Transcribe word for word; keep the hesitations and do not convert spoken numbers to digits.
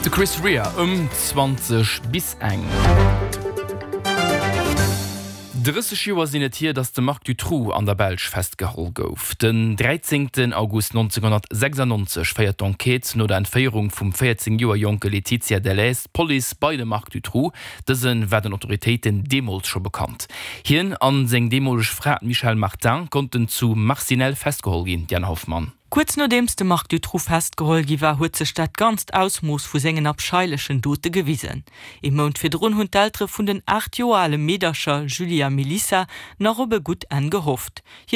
De Chris Rea ëm zwanzeg bis eng. Drësseg Joer sinn et hier, datt de Marc Dutroux an der Belsch festgeholl gouf. Den dräizéngten August nonzénghonnertsechsannonzeg féiert d'Enquête no der Entféierung vum véierzéng Joer jonke Laetitia Delhez d'Police bei de Marc Dutroux. Dëse war den Autoritéiten deemools scho bekannt. Hien a seng deemoleg Fra, d'Michelle Martin, konnten zu Marcinelle festgeholl ginn. Diane Hoffmann. Kuerz nodeems de Marc Dutroux festgeholl gi war, huet sech dat ganzt Ausmooss vu sengen abscheilechen Dote gewisen. Ee Mount virdrun hunn d'Eltere vun den aacht Joer ale Meedercher Julie a Melissa nach op e gutt Enn gehofft. Hir